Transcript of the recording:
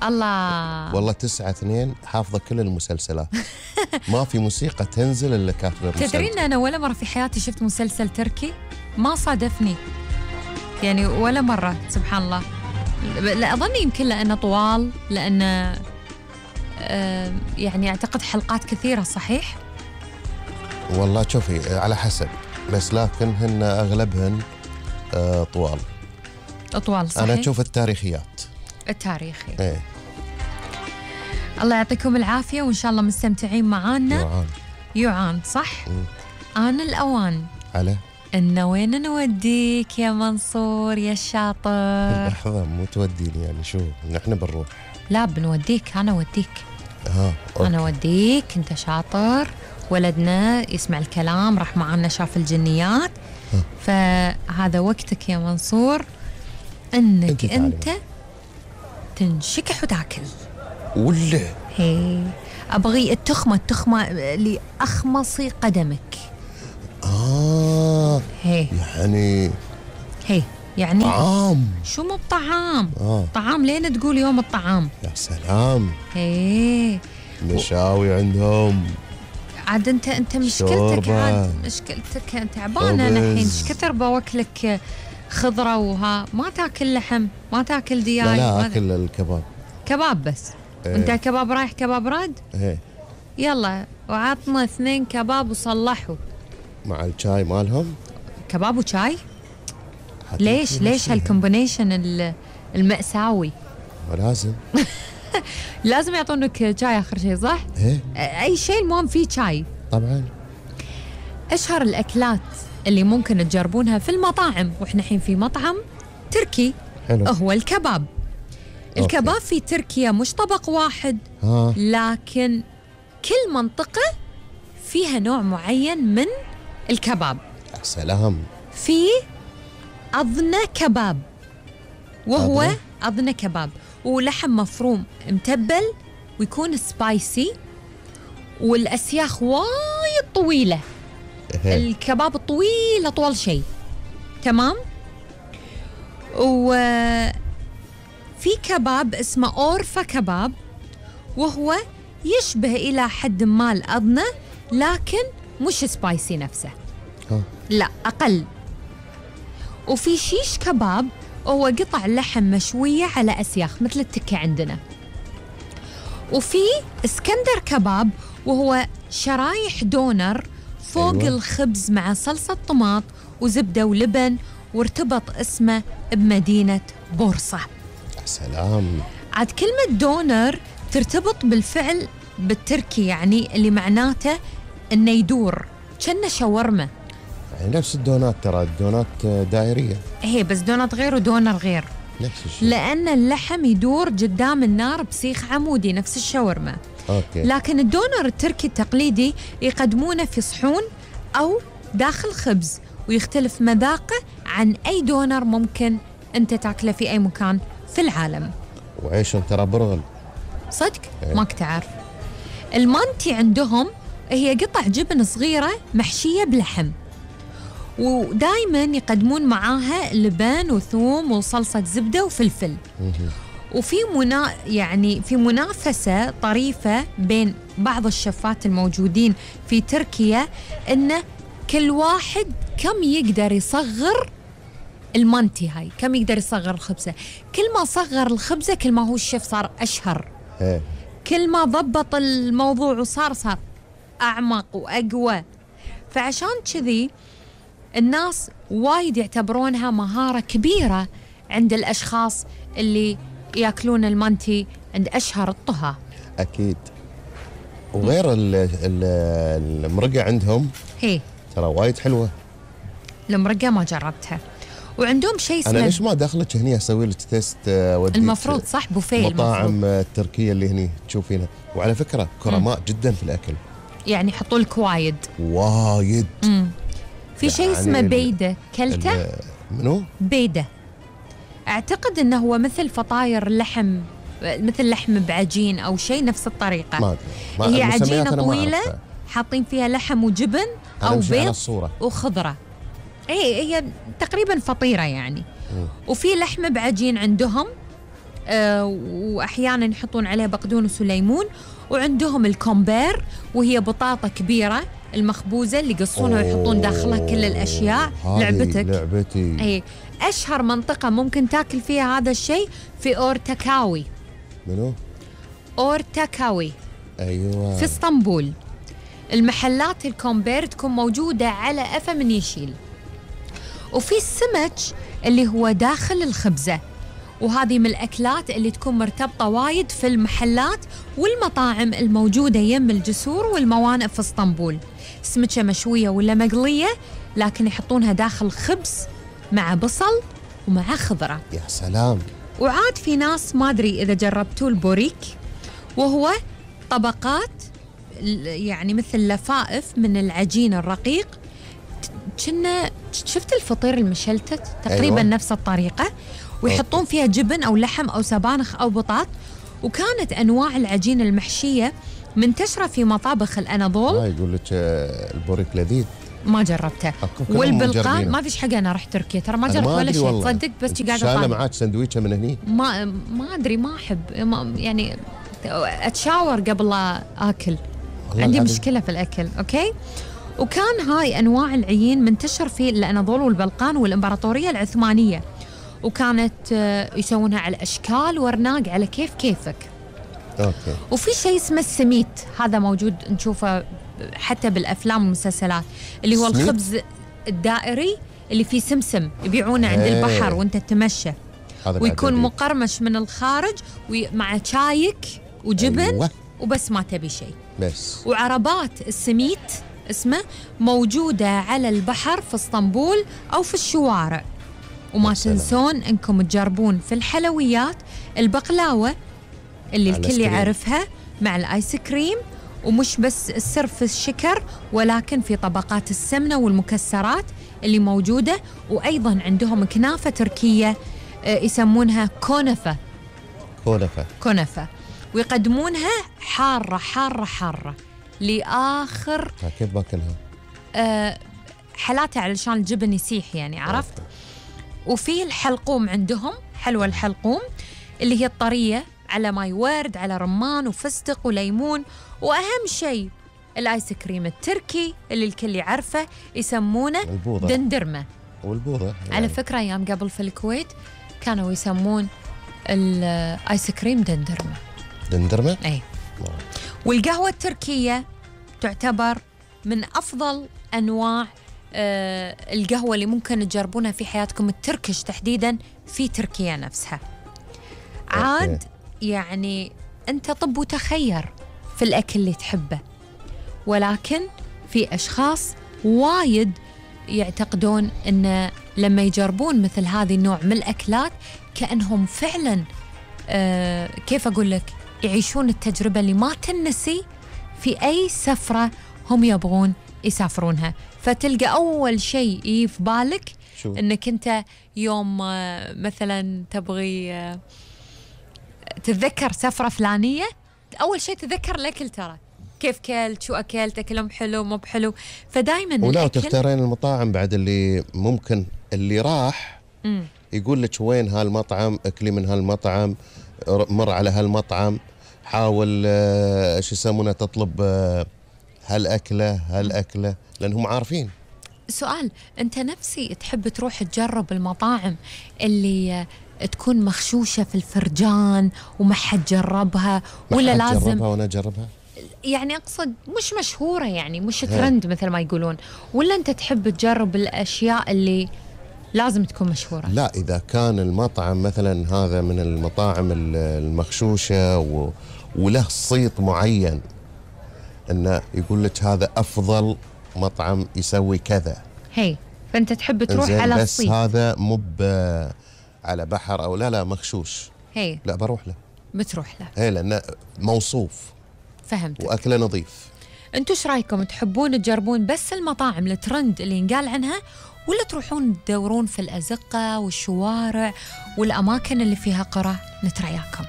الله والله 9/2 حافظة كل المسلسلات. ما في موسيقى تنزل إلا كاتبة المسلسل. تدرين أنا ولا مرة في حياتي شفت مسلسل تركي، ما صادفني يعني ولا مرة، سبحان الله. لا أظن يمكن لأنه طوال، لأنه يعني أعتقد حلقات كثيرة، صحيح؟ والله شوفي على حسب، بس لكن هن أغلبهن طوال. صحيح. أنا أشوف التاريخيات. التاريخي. إيه. الله يعطيكم العافية، وإن شاء الله مستمتعين معانا. يعان صح؟ آن الأوان على إنه وين نوديك يا منصور يا الشاطر؟ لحظة، مو توديني يعني، شو نحن بنروح؟ لا بنوديك، أنا أوديك. أوكي. أنا أوديك، أنت شاطر، ولدنا يسمع الكلام، راح معنا شاف الجنيات. فهذا وقتك يا منصور إنك أنت تنشكح وتاكل. ولا هي أبغي التخمة اللي أخمصي قدمك. هي يعني طعام. شو مو بطعام؟ طعام لين تقول يوم الطعام. يا سلام. هي مشاوي عندهم عاد. انت مشكلتك عاد، مشكلتك تعبانه انا الحين. ايش كثر بوكلك خضره وها، ما تاكل لحم، ما تاكل دياي. لا اكل الكباب. كباب بس. وانت كباب رايح كباب راد. يلا وعطنا 2 كباب وصلحوا مع الشاي مالهم. كباب وشاي؟ ليش هالكومبينيشن المأساوي؟ ولازم لازم يعطونك شاي آخر شيء، صح؟ أي شيء المهم فيه شاي. طبعا. أشهر الأكلات اللي ممكن تجربونها في المطاعم، وإحنا الحين في مطعم تركي، حلو. هو الكباب. الكباب في تركيا مش طبق واحد، لكن كل منطقة فيها نوع معين من الكباب. سلام. في أضنة كباب، وهو أضنة كباب ولحم مفروم متبل، ويكون سبايسي، والأسياخ وايد طويلة. الكباب الطويل أطول شيء، تمام. وفي كباب اسمه أورفا كباب، وهو يشبه إلى حد ما الأضنة، لكن مش سبايسي نفسه، لا أقل. وفي شيش كباب، هو قطع لحم مشوية على أسياخ مثل التكة عندنا. وفي اسكندر كباب، وهو شرايح دونر فوق الخبز مع صلصة طماط وزبدة ولبن، وارتبط اسمه بمدينة بورصة. سلام. عاد كلمة دونر ترتبط بالفعل بالتركي، يعني اللي معناته إنه يدور، كأنه شاورما. يعني نفس الدونات، ترى الدونات دائرية. بس دونات غير ودونر غير، نفس الشيء، لأن اللحم يدور قدام النار بسيخ عمودي نفس الشاورما. لكن الدونر التركي التقليدي يقدمونه في صحون أو داخل خبز، ويختلف مذاقه عن أي دونر ممكن أنت تاكله في أي مكان في العالم. وعيشهم ترى برغل صدق. ماك تعرف المانتي عندهم هي قطع جبن صغيرة محشية بلحم، ودائما يقدمون معاها لبن وثوم وصلصة زبدة وفلفل. وفي يعني في منافسة طريفة بين بعض الشفات الموجودين في تركيا، إن كل واحد كم يقدر يصغر المانتي هاي، كم يقدر يصغر الخبزة. كل ما صغر الخبزة كل ما هو الشيف صار أشهر. كل ما ضبط الموضوع وصار أعمق وأقوى. فعشان كذي الناس وايد يعتبرونها مهارة كبيرة عند الأشخاص اللي يأكلون المانتي عند أشهر الطهاة. أكيد. وغير المرقة عندهم ترى وايد حلوة. المرقة ما جربتها. وعندهم شيء اسمه، أنا ليش ما داخلك هني أسوي لك تيست؟ المفروض صح بوفيه المطاعم التركية اللي هني تشوفينها. وعلى فكرة كرماء جدا في الأكل، يعني يحطوا لك وايد. في شيء يعني اسمه بيدة، كلته؟ منو؟ بيدة أعتقد أنه هو مثل فطاير لحم، مثل لحم بعجين أو شيء نفس الطريقة. هي عجينة طويلة حاطين فيها لحم وجبن أو بيض وخضرة. هي تقريبا فطيرة يعني. وفي لحم بعجين عندهم، وأحيانا يحطون عليه بقدونس وليمون. وعندهم الكومبير وهي بطاطا كبيرة المخبوزة اللي يقصونها ويحطون داخلها كل الأشياء. لعبتك. لعبتي. أي أشهر منطقة ممكن تاكل فيها هذا الشيء في أورتاكاوي. منو؟ أورتاكاوي. أيوة. في اسطنبول. المحلات الكومبير تكون موجودة على أفا من يشيل. وفي السمك اللي هو داخل الخبزة، وهذه من الأكلات اللي تكون مرتبطة وايد في المحلات والمطاعم الموجودة يم الجسور والموانئ في اسطنبول. سمكة مشوية ولا مقلية، لكن يحطونها داخل خبز مع بصل ومع خضرة. يا سلام. وعاد في ناس ما أدري إذا جربتوا البوريك، وهو طبقات يعني مثل لفائف من العجين الرقيق. كنا شفت الفطير المشلتت تقريبا. أيوة. نفس الطريقة، ويحطون فيها جبن أو لحم أو سبانخ أو بطاط. وكانت أنواع العجين المحشية منتشرة في مطابخ الأناضول. يقول لك البوريك لذيذ. ما جربته. والبلقان ما فيش حاجة. أنا رحت تركيا ترى ما جربت ولا شيء تصدق، بس قاعدة شايلة معاك سندويشة من هني. ما أدري، ما أحب يعني أتشاور قبل لا آكل. عندي مشكلة في الأكل. أوكي. وكان هاي أنواع العجين منتشر في الأناضول والبلقان والإمبراطورية العثمانية، وكانت يسوونها على أشكال ورناق على كيفك. أوكي. وفي شيء اسمه السميت، هذا موجود نشوفه حتى بالأفلام والمسلسلات، اللي هو الخبز الدائري اللي فيه سمسم يبيعونه عند البحر وانت تتمشى، ويكون مقرمش من الخارج مع شايك وجبن. أيوة. وبس ما تبي شيء بس. وعربات السميت اسمه موجودة على البحر في اسطنبول أو في الشوارع. وما تنسون انكم تجربون في الحلويات البقلاوة اللي الكل يعرفها مع الآيس كريم، ومش بس السر في الشكر ولكن في طبقات السمنة والمكسرات اللي موجودة. وأيضا عندهم كنافة تركية يسمونها كنفة، ويقدمونها حارة حارة حارة لآخر. كيف باكلها؟ حالاتها علشان الجبن يسيح يعني، عرفت؟ وفي الحلقوم عندهم، حلوى الحلقوم اللي هي الطرية على ماي ورد على رمان وفستق وليمون. وأهم شيء الآيس كريم التركي اللي الكل يعرفه يسمونه دندرمة. والبوضة يعني. على فكرة أيام قبل في الكويت كانوا يسمون الآيس كريم دندرمة؟ أي. والقهوة التركية تعتبر من أفضل أنواع القهوة اللي ممكن تجربونها في حياتكم، التركش تحديدا في تركيا نفسها. عاد يعني أنت طب وتخير في الأكل اللي تحبه، ولكن في أشخاص وايد يعتقدون أن لما يجربون مثل هذه النوع من الأكلات كأنهم فعلا كيف أقول لك يعيشون التجربة اللي ما تنسي في أي سفرة هم يبغون يسافرونها. فتلقى أول شيء في بالك أنك أنت يوم مثلا تبغي تتذكر سفرة فلانية، أول شيء تذكر الأكل، ترى كيف كلت، شو أكلت، أكلهم حلو مو بحلو. فدايما ولا تختارين المطاعم بعد اللي ممكن اللي راح يقول لك وين هالمطعم، أكلي من هالمطعم، مر على هالمطعم، حاول شو يسمونه تطلب هالأكلة لأنهم عارفين. سؤال، أنت نفسي تحب تروح تجرب المطاعم اللي تكون مخشوشة في الفرجان وما حد جربها، ولا لازم جربها وأنا أجربها؟ يعني أقصد مش مشهورة يعني مش ترند مثل ما يقولون، ولا أنت تحب تجرب الأشياء اللي لازم تكون مشهورة؟ لا، إذا كان المطعم مثلا هذا من المطاعم المخشوشة وله صيت معين أنه يقول لك هذا أفضل مطعم يسوي كذا، فأنت تحب تروح على بس الصيت. هذا مو على بحر أو لا مخشوش، لا بروح له. بتروح له لأنه موصوف. فهمت. وأكله نظيف. أنتوا ايش رايكم، تحبون تجربون بس المطاعم الترند اللي ينقال عنها، ولا تروحون تدورون في الأزقة والشوارع والأماكن اللي فيها قرى؟ نترياكم.